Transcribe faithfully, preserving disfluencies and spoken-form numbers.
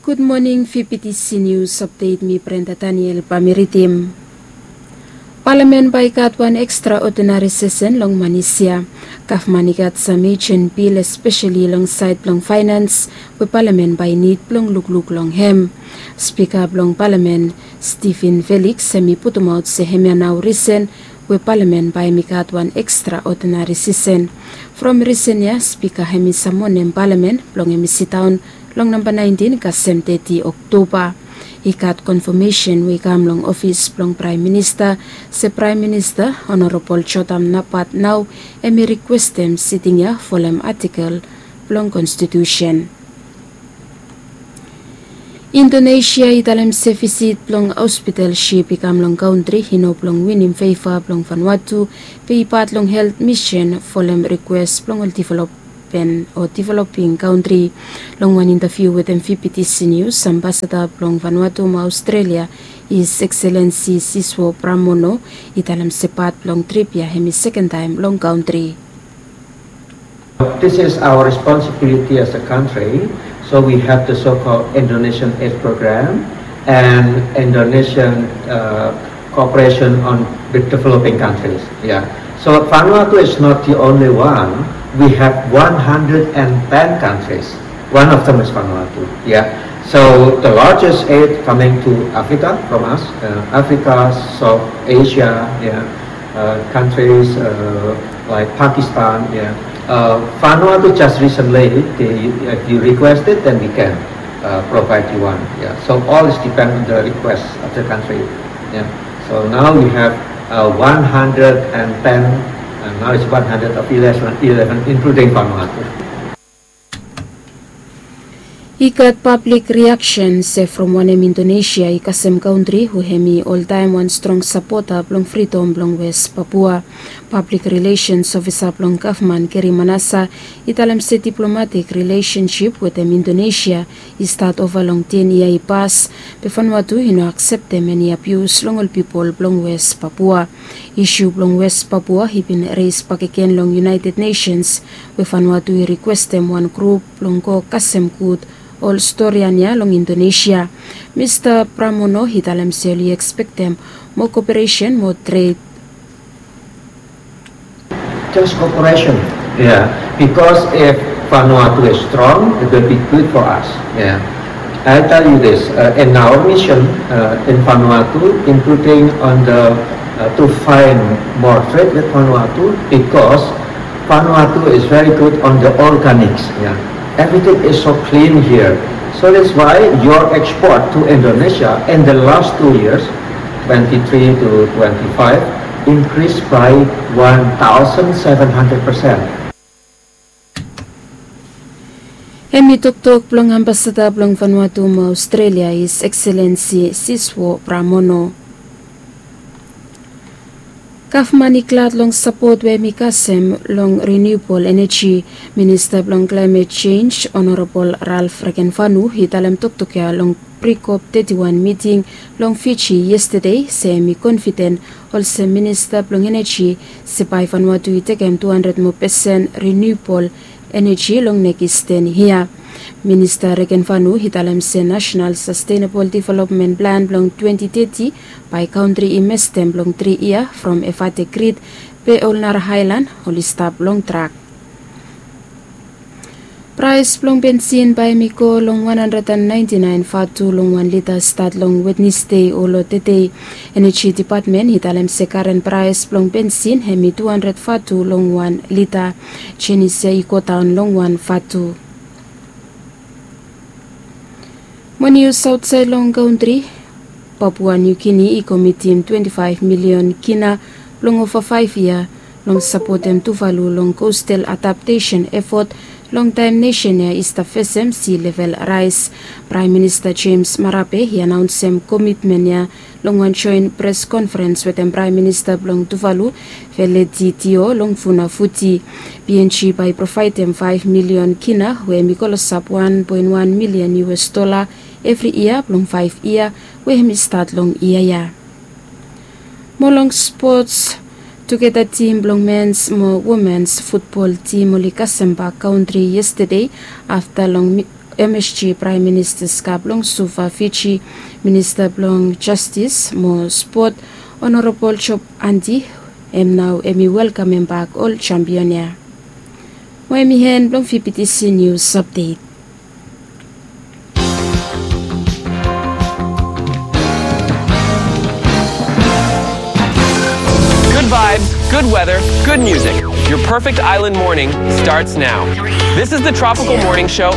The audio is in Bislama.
Gud moning, V P T C News Update, mi Brenda Daniel bae mi ridim. Palamen bae i gat wan ekstraodinari sesen long manis ya. Gavman i gat sam ejen bil, espeseli long saed blong faenans, we palamen bae i nid blong lukluk long hem. Spika blong palamen, Stephen Felix, hem i putumaot se hemia nao risen we palamen bae hem i gat wan ekstraodinari sesen. From risen ya, spika hem i samonem palamen blong hem i sidaon long namba naentin kasem teti Oktoba. I gat konfamesen we i kam long ofis blong Praem Minista se Praem Minista Honorabol Jotam Napat nao hem i rikwestem siting ya folem atikel blong konstitusen. Indonesia i talem se visit blong hospital sip i kam long kantri i no blong winim feva blong Vanuatu, be i pat long helt misen folem rikwes blong ol develop pen o developing kantri. Long wan intaviu wetem V P T C News, ambasada blong Vanuatu mo Australia, His Excellency Siswo Pramono, i talem se pat blong trip ya hem i sekentaem long kantri. This is our responsibility as a country. So we have the so-called Indonesian Aid Program and Indonesian uh, cooperation on the developing countries. Yeah. So Vanuatu is not the only one. We have one hundred and ten countries. One of them is Vanuatu. Yeah. So the largest aid coming to Africa from us, uh, Africa, South Asia, yeah, uh, countries uh, like Pakistan. Yeah. Uh, Vanuatu just recently, they, if you request it, then we can uh, provide you one. Yeah. So all is depend on the request of the country. Yeah. So now we have uh, one hundred and ten, and now it's one hundred of eleven, eleven including Vanuatu. I gat pablik riaksen se from wanem Indonesia i kasem kantri we hem i oltaem wan strong sapota blong fridom blong Wes Papua. Pablik rilesens ofisa blong gavman Geri Manasa i talem se diplomatik rilesensip wetem Indonesia i stat ova long ten yia i pas, be Vanuatu i no akseptem eni abius long ol pipol blong Wes Papua. Isu blong Wes Papua i bin res bakegen long United Nations, we Vanuatu i rikwestem wan grup blong go kasem gud ol storian ya long Indonesia. Mista Pramono i talem se oli ekspektem moa koperesen mo tred. Just cooperation. Yeah, because if Vanuatu is strong, it will be good for us. Yeah. I tell you this, uh, in our mission uh, in Vanuatu, including on the uh, to find more trade with Vanuatu, because Vanuatu is very good on the organics. Yeah. Everything is so clean here. So that's why your export to Indonesia in the last two years, twenty-three to twenty-five, increased by one thousand seven hundred percent. Hem i toktok blong ambasada blong Vanuatu mo Australia, His Excellency Siswo Pramono. Gavman i glad long sapot we hem i kasem long renewable energy. Minista blong climate change, Honorabol Ralph Regenvanu, i talem toktok ya long pre-COP thirty-one miting long Fiji yestade, se hem i konfiden olsem minista blong eneji se bae Vanuatu i tekem two hundred moa pesen renewable eneji long nekis ten yia. Minista Regenvanu i talem se National Sustainable Development Plan blong twenty thirty bae kantri i mestem blong tri yia from Efate grid, be ol nara aelan oli stap long trak. Praes blong bensin bae hem i go long wan handred and naenti naen vatu long wan lita stat long Wednesde olo tede. Eneji Depatmen i talem se karen praes blong bensin hem i tu handred vatu long wan lita. Jenis ya i godaon long wan vatu. Mo nius aotsaed long kantri, Papua New Guinea i komitim twenti faef milion kina blong ova faef yia long sapotem Tuvalu long coastal adaptation effort long taem nesen ya i stap fesem sea level rise. Praem Minista James Marape i anaonsem komitmen ya long wan joen pres konferens wetem Praem Minista blong Tuvalu, Veleditio, long Funafuti. PNG bae i provaedem faef milion kina, we hem i klosap wan poen wan milion US dola evri yia blong faef yia, we hem i stat long yia ya. Mo long spots, tugeta tim blong mens mo womens futbol tim oli kasem bak kantri yestade afta long mi- M S G Praem Minista Ska blong Suva, Fiji, Minista blong Jastis mo Spot, Honorabol Job Andy, hem nao hem i welkamem bak ol jampion ya. Mo hem i hen blong V B T C News Update. Good vibes, good weather, good music. Your perfect island morning starts now. This is the Tropical Morning Show